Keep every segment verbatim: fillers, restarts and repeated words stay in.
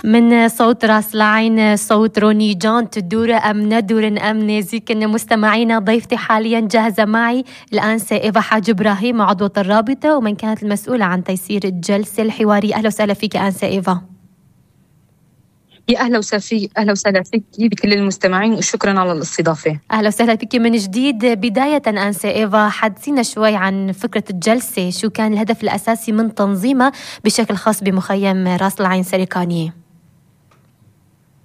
من صوت راس العين صوت روني جون. تدور أم ندور أم نازكن مستمعينا. ضيفتي حاليا جاهزة معي الآنسة إيفا حاج إبراهيم عضوة الرابطة ومن كانت المسؤولة عن تيسير الجلسة الحوارية. أهلا وسهلا فيك آنسة إيفا. يا أهلا وسهلا فيك أهلا وسهلا فيك بكل المستمعين وشكرا على الاستضافة. أهلا وسهلا فيك من جديد. بداية أنسة إيفا حدثينا شوي عن فكرة الجلسة، شو كان الهدف الأساسي من تنظيمها بشكل خاص بمخيم راس العين سريكانية؟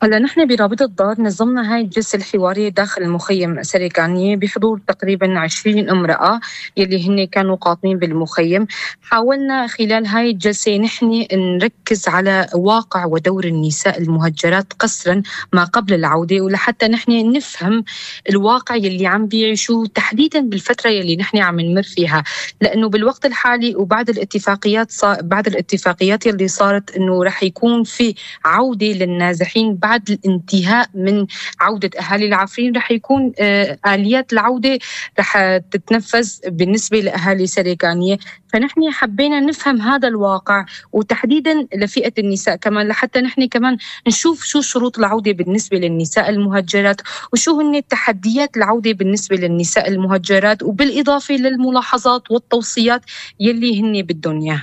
هلا نحن برابطة دار نظمنا هاي الجلسة الحوارية داخل المخيم سريكانية بحضور تقريبا عشرين امرأة يلي هن كانوا قاطنين بالمخيم. حاولنا خلال هاي الجلسة نحن نركز على واقع ودور النساء المهجرات قسرا ما قبل العودة، ولحتى نحن نفهم الواقع يلي عم بيعيشوه تحديدا بالفترة يلي نحن عم نمر فيها، لأنه بالوقت الحالي وبعد الاتفاقيات صار بعد الاتفاقيات يلي صارت إنه رح يكون في عودة للنازحين بعد الانتهاء من عودة أهالي العفرين، رح يكون آه آليات العودة رح تتنفذ بالنسبة لأهالي سريكانية. فنحن حبينا نفهم هذا الواقع وتحديدا لفئة النساء كمان، لحتى نحن كمان نشوف شو شروط العودة بالنسبة للنساء المهجرات وشو هن تحديات العودة بالنسبة للنساء المهجرات، وبالإضافة للملاحظات والتوصيات يلي هن بدهم إياه.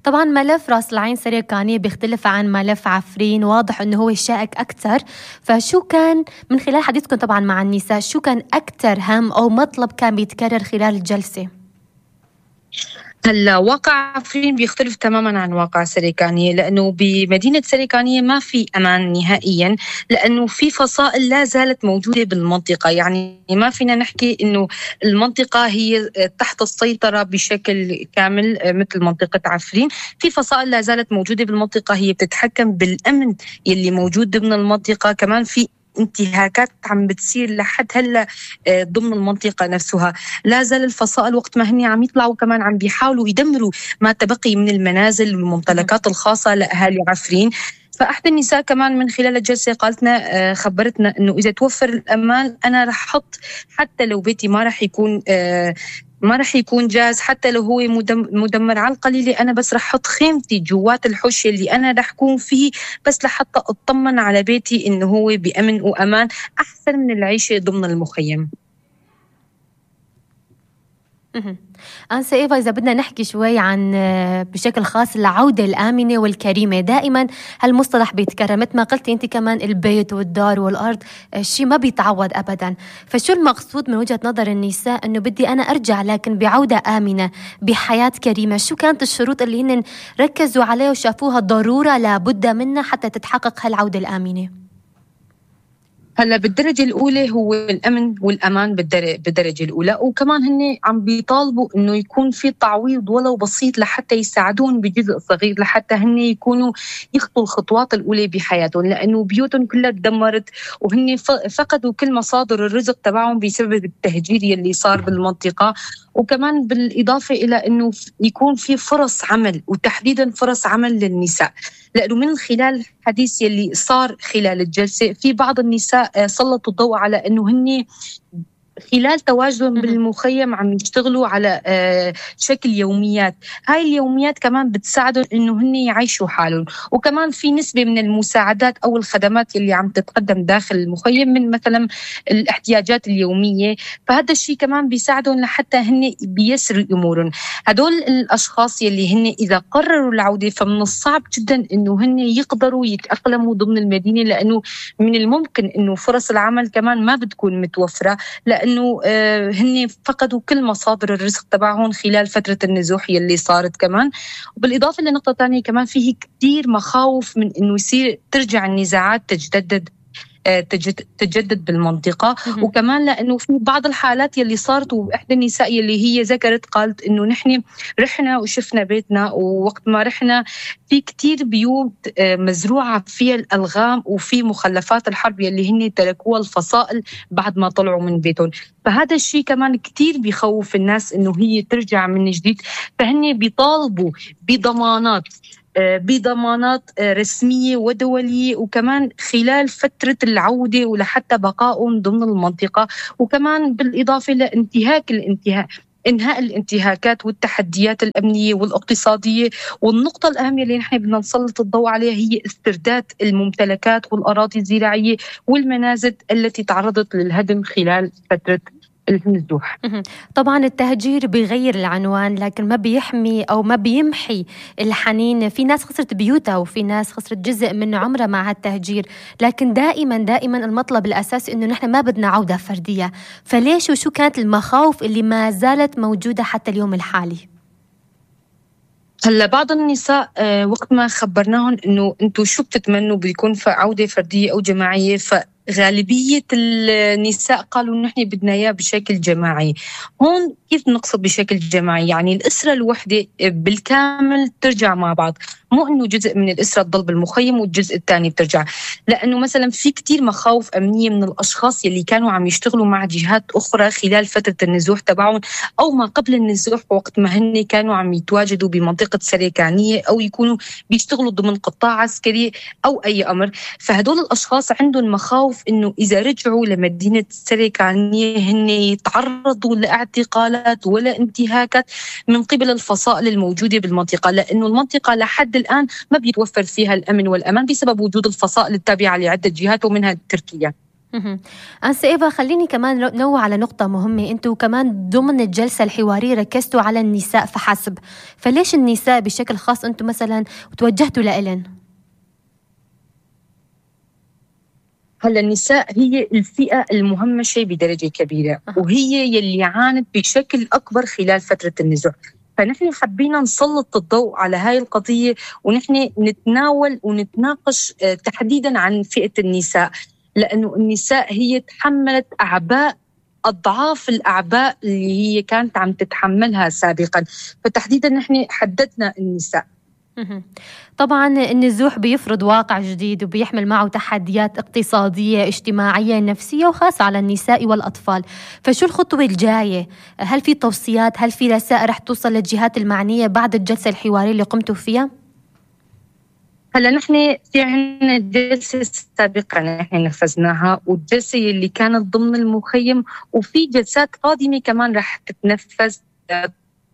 طبعا ملف راس العين سريكانية بيختلف عن ملف عفرين، واضح أنه هو شائك أكثر، فشو كان من خلال حديثكم طبعا مع النساء شو كان أكثر هم أو مطلب كان بيتكرر خلال الجلسة؟ هلا واقع عفرين بيختلف تماما عن واقع سريكانية، لأنه بمدينة سريكانية ما في أمان نهائيا، لأنه في فصائل لا زالت موجودة بالمنطقة. يعني ما فينا نحكي إنه المنطقة هي تحت السيطرة بشكل كامل مثل منطقة عفرين. في فصائل لا زالت موجودة بالمنطقة هي بتتحكم بالأمن يلي موجود ضمن المنطقة. كمان في انتهاكات عم بتصير لحد هلا ضمن المنطقه نفسها. لا زال الفصائل وقت ما هني عم يطلعوا كمان عم بيحاولوا يدمروا ما تبقي من المنازل والممتلكات الخاصه لاهالي عفرين. فاحدى النساء كمان من خلال الجلسه قالتنا خبرتنا انه اذا توفر الامان انا رح احط حتى لو بيتي ما رح يكون ما رح يكون جاهز، حتى لو هو مدمر على القليلة أنا بس رح أحط خيمتي جوات الحوش اللي أنا رح أكون فيه بس لحتى أطمن على بيتي إنه هو بأمن وأمان أحسن من العيشة ضمن المخيم. أنسة إيفا إذا بدنا نحكي شوي عن بشكل خاص العودة الآمنة والكريمة، دائما هالمصطلح بيتكرر مثل ما قلتي أنت كمان، البيت والدار والأرض شيء ما بيتعوض أبدا. فشو المقصود من وجهة نظر النساء أنه بدي أنا أرجع لكن بعودة آمنة بحياة كريمة؟ شو كانت الشروط اللي هن ركزوا عليها وشافوها ضرورة لابد منها حتى تتحقق هالعودة الآمنة؟ هلا بالدرجة الأولى هو الأمن والأمان بالدرجة الأولى، وكمان هن عم بيطالبوا إنه يكون في تعويض ولو بسيط لحتى يساعدون بجزء صغير لحتى هن يكونوا يخطوا الخطوات الأولى بحياتهم، لأنه بيوتهم كلها تدمرت وهن فقدوا كل مصادر الرزق تبعهم بسبب التهجير يلي صار بالمنطقة. وكمان بالإضافة إلى أنه يكون في فرص عمل وتحديدا فرص عمل للنساء، لأنه من خلال الحديث يلي صار خلال الجلسة في بعض النساء سلطوا الضوء على أنه هن خلال تواجدهم بالمخيم عم يشتغلوا على شكل يوميات. هاي اليوميات كمان بتساعدهم انه هن يعيشوا حالهم، وكمان في نسبة من المساعدات او الخدمات اللي عم تتقدم داخل المخيم من مثلا الاحتياجات اليومية، فهذا الشيء كمان بيساعدهم لحتى هن بيسروا امورهم. هدول الاشخاص يلي هن اذا قرروا العودة فمن الصعب جدا انه هن يقدروا يتأقلموا ضمن المدينة، لانه من الممكن انه فرص العمل كمان ما بتكون متوفرة، لأن إنه هن فقدوا كل مصادر الرزق تبعهم خلال فترة النزوح يلي صارت كمان. وبالإضافة لنقطة تانية كمان فيه كتير مخاوف من إنه يصير ترجع النزاعات تجدد تجدد بالمنطقة. وكمان لأنه في بعض الحالات يلي صارت، وإحدى النساء يلي هي ذكرت قالت إنه نحن رحنا وشفنا بيتنا، ووقت ما رحنا في كتير بيوت مزروعة فيها الألغام وفي مخلفات الحرب يلي هن تركوها الفصائل بعد ما طلعوا من بيتهم. فهذا الشيء كمان كتير بيخوف الناس إنه هي ترجع من جديد، فهن بيطالبوا بضمانات بضمانات رسمية ودولية، وكمان خلال فترة العودة ولحتى بقائهم ضمن المنطقة، وكمان بالإضافة لانتهاك الانتهاء إنهاء الانتهاكات والتحديات الأمنية والاقتصادية. والنقطة الأهم اللي نحن بدنا نسلط الضوء عليها هي استرداد الممتلكات والأراضي الزراعية والمنازل التي تعرضت للهدم خلال فترة النزوح. طبعا التهجير بيغير العنوان لكن ما بيحمي أو ما بيمحي الحنين. في ناس خسرت بيوتها وفي ناس خسرت جزء من عمرها مع هالتهجير، لكن دائما دائما المطلب الأساسي إنه نحن ما بدنا عودة فردية. فليش وشو كانت المخاوف اللي ما زالت موجودة حتى اليوم الحالي؟ هلا بعض النساء آه وقت ما خبرناهم إنه أنتوا شو بتتمنوا بيكون عودة فردية أو جماعية، ف غالبية النساء قالوا نحن بدنا إياه بشكل جماعي. هون كيف نقصد بشكل جماعي؟ يعني الأسرة الوحدة بالكامل ترجع مع بعض، مو إنه جزء من الأسرة تضل بالمخيم والجزء الثاني بترجع. لأنه مثلا في كتير مخاوف أمنية من الأشخاص يلي كانوا عم يشتغلوا مع جهات أخرى خلال فترة النزوح تبعهم أو ما قبل النزوح، وقت ما هن كانوا عم يتواجدوا بمنطقة سريكانية أو يكونوا بيشتغلوا ضمن قطاع عسكري أو أي أمر. فهدول الأشخاص عندهم مخاوف إنه إذا رجعوا لمدينة سريكانية هن يتعرضوا لاعتقالات ولا انتهاكات من قبل الفصائل الموجودة بالمنطقة، لأنه المنطقة لحد الآن ما بيتوفر فيها الأمن والأمان بسبب وجود الفصائل التابعة لعدة جهات ومنها تركيا. أنسة إيفا، خليني كمان نوع على نقطة مهمة. أنتوا كمان ضمن الجلسة الحوارية ركزتوا على النساء فحسب، فليش النساء بشكل خاص أنتوا مثلا توجهتوا لإلن؟ هلا النساء هي الفئة المهمشة بدرجة كبيرة وهي يلي عانت بشكل أكبر خلال فترة النزوح، فنحن حبينا نسلط الضوء على هاي القضية ونحن نتناول ونتناقش تحديدا عن فئة النساء، لأنه النساء هي تحملت أعباء أضعاف الأعباء اللي هي كانت عم تتحملها سابقا، فتحديدا نحن حددنا النساء. طبعا النزوح بيفرض واقع جديد وبيحمل معه تحديات اقتصادية اجتماعية نفسية وخاصة على النساء والأطفال. فشو الخطوة الجاية؟ هل في توصيات؟ هل في رسائل رح توصل للجهات المعنية بعد الجلسة الحوارية اللي قمتوا فيها؟ هلا نحن في عنا جلسة سابقة نحن نفذناها والجلسة اللي كانت ضمن المخيم، وفي جلسات قادمة كمان رح تتنفذ.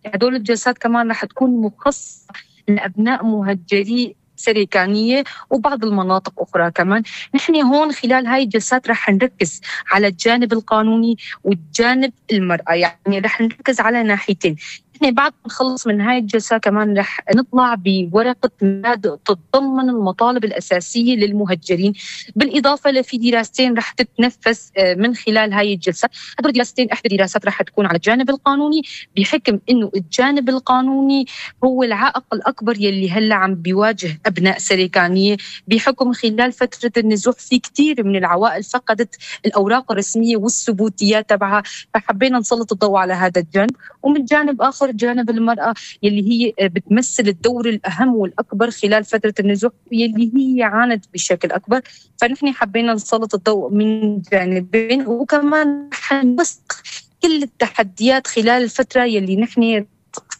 هدول الجلسات كمان رح تكون مخصصة لأبناء مهجري سريكانية وبعض المناطق أخرى كمان. نحن هون خلال هاي الجلسات رح نركز على الجانب القانوني والجانب المرأة، يعني رح نركز على ناحيتين. نحن بعد ما نخلص من هاي الجلسة كمان رح نطلع بورقة مبادئ تتضمن المطالب الأساسية للمهجرين، بالإضافة لفي دراستين رح تتنفذ من خلال هاي الجلسة. هدول دراستين إحدى الدراسات رح تكون على الجانب القانوني، بحكم إنه الجانب القانوني هو العائق الأكبر يلي هلا عم بيواجه أبناء سريكانية، بحكم خلال فترة النزوح في كتير من العوائل فقدت الأوراق الرسمية والثبوتيات تبعها، فحبينا نسلط الضوء على هذا الجانب. ومن جانب آخر جانب المرأة يلي هي بتمثل الدور الأهم والأكبر خلال فترة النزوح يلي هي عانت بشكل أكبر، فنحن حبينا نسلط الضوء من جانبين، وكمان حنوثق كل التحديات خلال الفترة يلي نحن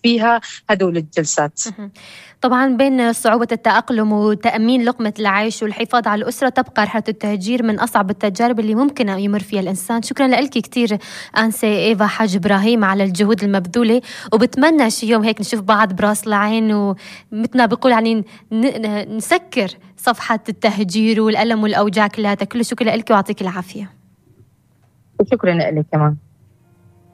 فيها هدول الجلسات. طبعا بين صعوبة التأقلم وتأمين لقمة العيش والحفاظ على الأسرة تبقى رحلة التهجير من أصعب التجارب اللي ممكن يمر فيها الإنسان. شكرا لك كتير أنسة إيفا حاج إبراهيم على الجهود المبذولة، وبتمنى شي يوم هيك نشوف بعض براس العين ومثلنا بقول يعني نسكر صفحة التهجير والألم والأوجاع كلها. كل شكرا لك ويعطيك العافية. وشكرا لك كمان.